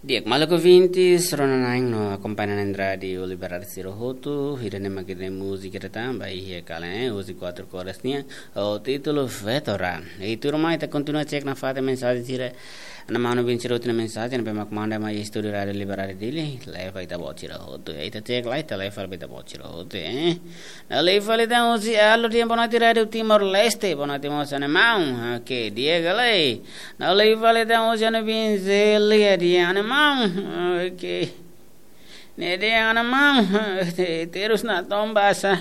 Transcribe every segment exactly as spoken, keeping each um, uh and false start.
Di'ak, maluk ouvintes, rona na'in no akompaña na'in rádiu Liberdade sira hotu, ida-ne'e mak ita-nia múzika ida tan, ba iha kalan, eh, husi Quatro Cores nian, ho títulu Vetora. I tuirmai ita kontinua cek nafatin mensajen sira, no manu bin sira hotu nia mensajen, ne'ebé mak manda mai estúdiu Rádiu Liberdade Dili, leva ita-boot sira hotu, ita cek lai, ita leva ita-boot sira hotu, eh. Ne'e liu fali tan husi Aldo dehan boa noite Rádiu Timor-Leste, boa noite mós ha'u-nia maun, oke, di'ak ka lae. Ne'e liu fali tan husi ha'u-nia bin Zelia dehan ha'u-nia maun. Oke. Ne'e dehan ha'u-nia maun. Te-, terus natoon basa.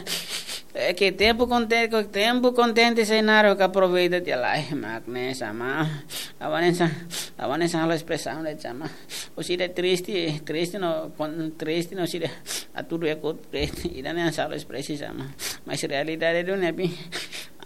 Oke, tempu kontente, tempu kontente sai naruk, aproveita tiha lai. Mak ne'e sá maun. Ha'u hanesan, ha'u hanesan halo espresaun de'it sá maun. Husi ida triste, triste no, kon-, triste no husi ida atu du ekot triste. Ida-ne'e hanesan halo espresaun sá maun. Mas realidade duni ne'ebé.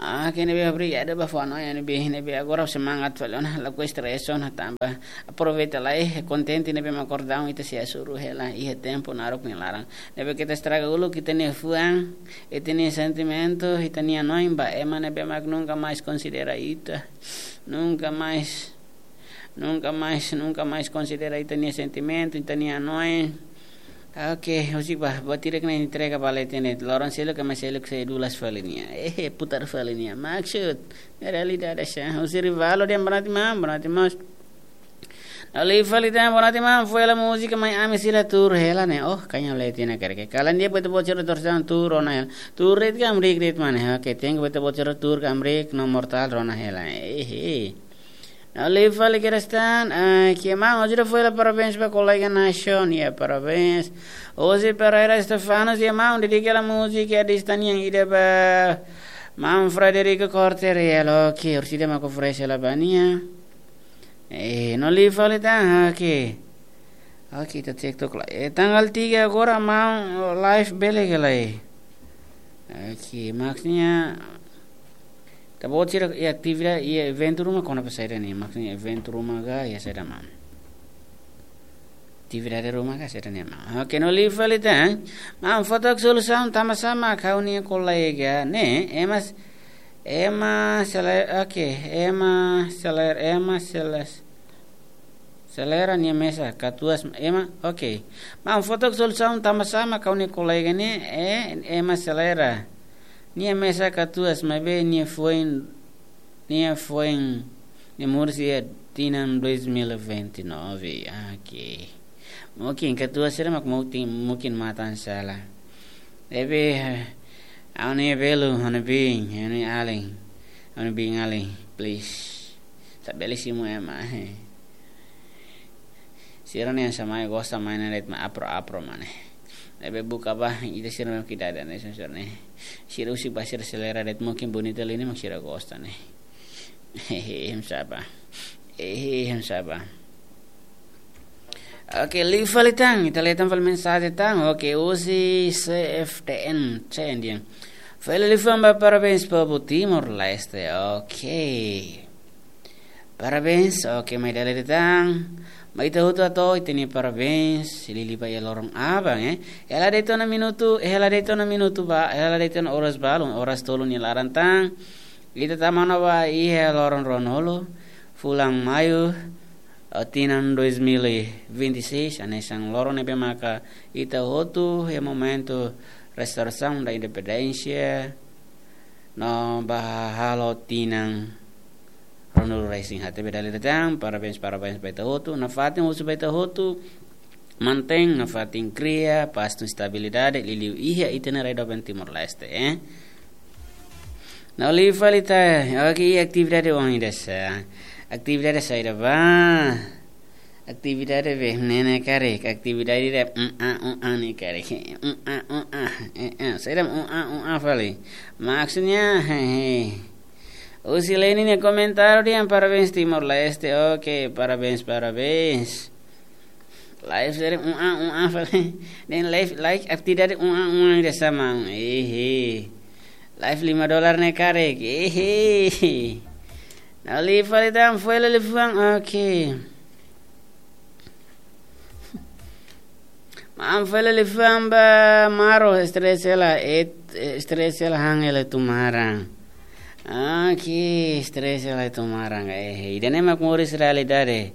Ah, ke ne'ebé obrigadu ba fó-hanoin ne'ebé, ne'ebé agora semangat fali ona, lakohi estresa ona tanba. Aproveita lai, kontente ne'ebé mak akordaun ita sei hasoru hela, iha tempu naruk nia laran. Ne'ebé ke ita estraga uluk ita-nia fuan, ita-nia sentimentu, ita-nia hanoin ba ema ne'ebé mak nunka mais konsidera ita, nunka mais, nunka mais, nunka mais konsidera ita-nia sentimentu, ita-nia hanoin. Oke, husik ba, buat ida-ne'e entrega ba leten de'it. Loron seluk, ema seluk sei dulas fali nia. Eh, putar fali nia. Maksud, ne'e realidade sá. Husi Rivaldo dehan boa noite maun, boa noite maun. Ne'e liu fali tan, boa noite maun, foin hela múzika mai ami sira tuur hela ne'e. Oh, kaña leten ne'e karik. Kalan di'ak ba ita-boot sira tuur sá tuur ona hela. Tuur de'it ka hamriik de'it mak ne'e. Oke, thank you ba ita-boot sira tuur ka hamriik no mortál rona hela. Eh, eh. Ne'e liu fali kedas tan, ah, ke maun, ohin ita foin hela parabéns ba kolega Nashon, ya, parabéns. José Pereira Stefano, ya maun, dedika hela múzika ida tan nian ida ba maun Frederico Corte Real, oke, orsida mak oferese hela ba nia. Eh, ne'e liu fali tan, oke. Oke, ita cek took lai. Eh, tanggal tiga agora maun live bele ka lae. Oke, maksudnya ita-boot sira iha atividade, iha eventu ruma kona-ba saida ne'e, maksudnya eventu ruma ka iha saida maun. Atividade ruma ka saida ne'e maun. Oke, ne'e liu fali tan. Maun, falta solusaun tanba sá mak ha'u-nia kolega ne'e, ema s-, ema sele-, oke, ema seler-, ema seles-, Selera nia mesak katuas ema, oke. Maun, falta solusaun tanba sá mak ha'u-nia kolega ne'e, eh, ema selera nia mesak katuas maibé nia foin, nia foin, nia moris iha tinan dois mil e vinte e nove. Oke. Mungkin katuas sira mak mungkin, mungkin matan sala. Ne'ebé, eh, ha'u-nia belun, ha'u-nia biin, ha'u-nia alin, ha'u-nia biin alin, please. Ita bele simu ema, eh. Sira-ne'e hanesan mai gosta mai ne'e de'it mak apro-apro mak ne'e. Ne'ebé buka ba, ita sira-nia kida dan ne'e sensor ne'e. Sira husik ba sira selera de'it mungkin bonita liu ne'e mak sira gosta ne'e. Hehe, hem saba. Hehe, hem saba. Oke, liu fali tan, ita leten fali mensajen tan. Oke, husi C F T N, C N D N. Fali liafuan ba parabéns povu Timor-Leste. Oke. Parabéns, oke, mai dala ida tan. Mai ita hotu hato'o ita-nia parabéns, liuliu ba iha loron aban, eh. Hela de'it ona minutu, hela de'it ona minutu ba, hela de'it ona oras balun, oras tolu nia laran tan. Ita tama ona ba iha loron ruanulu, fulan Maiu, eh, tinan dois mil e vinte e seis, hanesan loron ne'ebé maka ita hotu iha momentu restaurasaun da independénsia, no ba halo tinan ruanulu-resin-haat. Ne'ebé dala ida tan, parabéns, parabéns ba ita hotu. Nafatin husu ba ita hotu, mantein nafatin kria pás no estabilidade, liuliu iha ita-nia rai doben Timor-Leste, eh. Ne'e liu fali tan, oke, atividade ohin ida sá. Atividade saida ba? Atividade be, ne'e ne'e karik, atividade de, mm, ah, mm, ah, ne'e karik. Mm, ah, mm, ah, eh, eh, saida, mm, ah, mm, ah, fali. Maksudnya, hehe. Husi Leni nia komentáriu dehan parabéns Timor-Leste. Oke, parabéns, parabéns. Live seri, mm, ah, mm, ah, fali. Ne'e live, like, atividade, mm, ah, mm, ah, ida sá maun. Ehe. Live lima dolar ne'e karik. Ehe. Ne'e liu fali tan, foin hela liafuan. Oke. Maun, foin hela liafuan ba Maro, estresa hela, et-, estresa hela han hela iha tumaran. Oke, estresa hela iha tumaran. Eh, ida-ne'e mak moris realidade.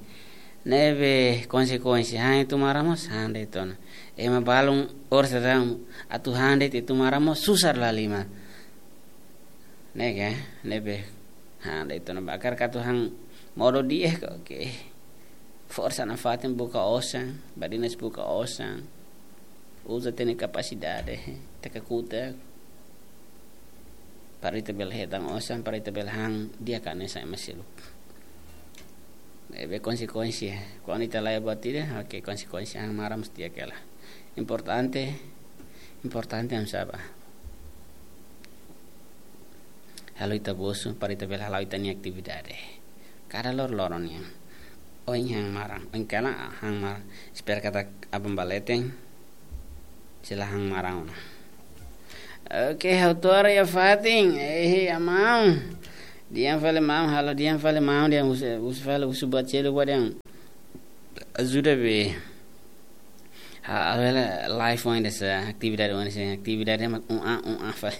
Ne'ebé konsekuénsia han ita-nia maran mós han de'it ona. Ema balun orsida atu han de'it ita-nia maran mós susar la lima. Ne'e ne'ebé han de'it ona, barak atu han modo di'ak, oke. Forsa nafatin buka osan, badinas buka osan. Uza ita-nia kapasidade, taka kuta. Para ita bele hetan osan, para ita bele han di'ak hanesan ema seluk. Ne'ebé konsekuénsia. Kuandu ita laiha buat ida, oke, konsekuénsia han maran mós di'ak hela. Importante, importante mak sá ba. Halo ita-boot, para ita bele hala'o ita-nia atividade. Kada loron-loron nian. Ohin han maran, ohin kalan han maran. Espera katak aban ba leten sei la han maran ona. Oke, ha'u to'o iha fatin. Eh, iha maun. Dehan fali maun, halo dehan fali maun, dehan husu, husu fali, husu buat seluk ba dehan. Ajuda be. Ha, halo hela live oin de'it sá, atividade oin de'it sá, atividade mak un a, un a fali.